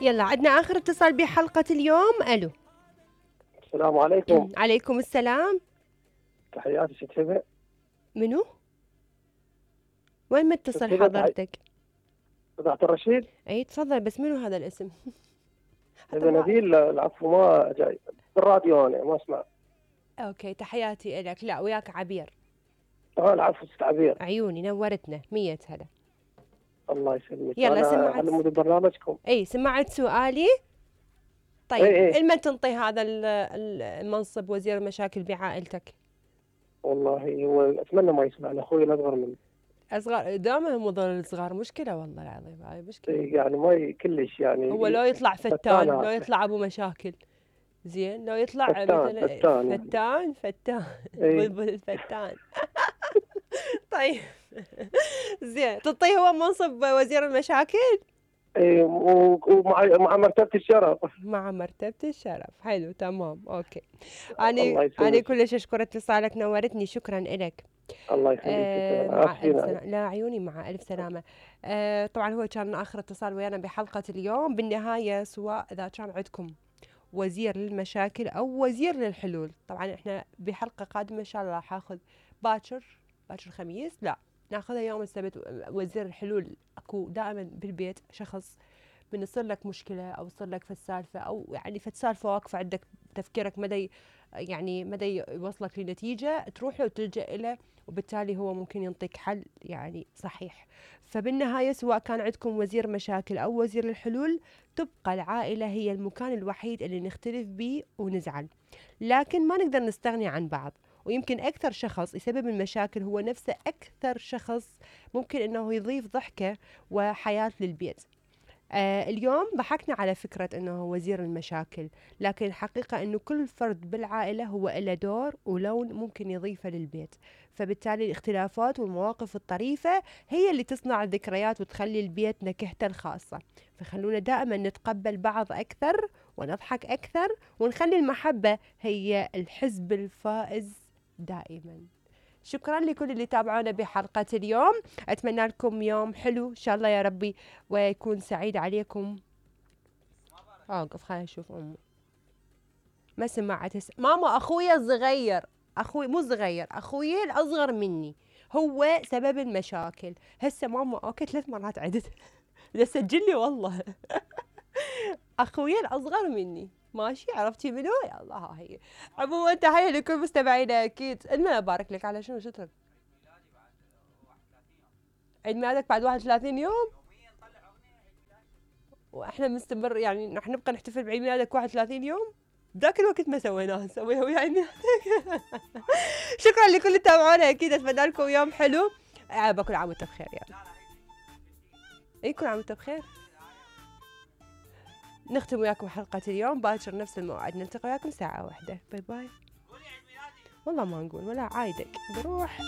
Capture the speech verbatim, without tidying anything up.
يلا عندنا آخر اتصال بحلقة اليوم. ألو. السلام عليكم. عليكم السلام. تحياتي ست هبة. منو؟ وين متصل حضرتك؟ ست عبد الرشيد. اي تفضل، بس منو هذا الاسم؟ هبة نبيل. العفو، ما جاي بالراديو انا ما اسمع. اوكي تحياتي لك. لا وياك عبير. اه العفو ست عبير. عيوني نورتنا مية هلا. الله يسلمك. يلا انا سمعت على مود برنامجكم. اي سمعت سؤالي. طيب اي اي. لما تنطي هذا المنصب وزير المشاكل بعائلتك؟ والله هو اتمنى ما يسمعنا، اخوي الاصغر مني. اصغر دائما هم ظل الصغار مشكله والله العظيم، هاي مشكله. يعني ما ي... كلش يعني هو لو يطلع فتان، لو يطلع ابو مشاكل زين، لو يطلع فتان مثلا فتان فتان فتان ايه. بلبل الفتان. طيب زين، تعطيه هو منصب وزير المشاكل؟ ايه ومع مع مرتبة الشرف. مع مرتبة الشرف. حلو تمام اوكي. اني الله يسلمك. اني كلش اشكر اتصالك، نورتني، شكرا لك. الله يخليك. آه مع ألف سلامة. لا عيوني مع ألف سلامة. آه طبعا هو كان آخر اتصال ويانا بحلقة اليوم. بالنهاية سواء إذا كان عندكم وزير للمشاكل أو وزير للحلول، طبعا احنا بحلقة قادمة إن شاء الله راح آخذ باكر باكر خميس، لا ناخذها يوم السبت. وزير الحلول اكو دائما بالبيت شخص من يصير لك مشكله او يصير لك فد سالفه، او يعني فد سالفه واقفه عندك تفكيرك مدى يعني مدى يوصلك لنتيجه، تروح له وتلجا له، وبالتالي هو ممكن ينطيك حل يعني صحيح. فبالنهايه سواء كان عندكم وزير مشاكل او وزير الحلول، تبقى العائله هي المكان الوحيد اللي نختلف به ونزعل، لكن ما نقدر نستغني عن بعض. ويمكن أكثر شخص يسبب المشاكل هو نفسه أكثر شخص ممكن أنه يضيف ضحكة وحياة للبيت. آه اليوم ضحكنا على فكرة أنه وزير المشاكل، لكن الحقيقة أنه كل فرد بالعائلة هو له دور ولون ممكن يضيفه للبيت. فبالتالي الاختلافات والمواقف الطريفة هي اللي تصنع الذكريات وتخلي البيت نكهته الخاصة. فخلونا دائما نتقبل بعض أكثر ونضحك أكثر، ونخلي المحبة هي الحزب الفائز دائما. شكرا لكل اللي تابعونا بحلقة اليوم، أتمنى لكم يوم حلو إن شاء الله يا ربي ويكون سعيد عليكم. أوقف خلينا نشوف أمه ما سمعت. ماما أخويا الصغير، أخوي مو صغير، أخوي الأصغر مني هو سبب المشاكل. هسه ماما أوكي ثلاث مرات عدت لا سجل لي والله. أخوي الأصغر مني ماشي، عرفتي منو؟ يا الله ها هي. عموما تحية لكل مستمعينا اكيد. المهم ابارك لك على شنو شتر؟ عيد ميلادك بعد واحد وثلاثين يوم؟ واحنا مستمر يعني رح نبقى نحتفل بعيد ميلادك واحد وثلاثين يوم؟ ذاك الوقت ما سويناه نسويها ويا عيد ميلادك. شكرا لكل اللي تابعونا، اكيد اتمنى لكم يوم حلو. آه كل عام وانت بخير يعني. اي كل عام وانت بخير. نختم وياكم حلقة اليوم باكر نفس الموعد، نلتقي وياكم ساعة واحدة. باي باي. والله ما نقول ولا عايدك بروح.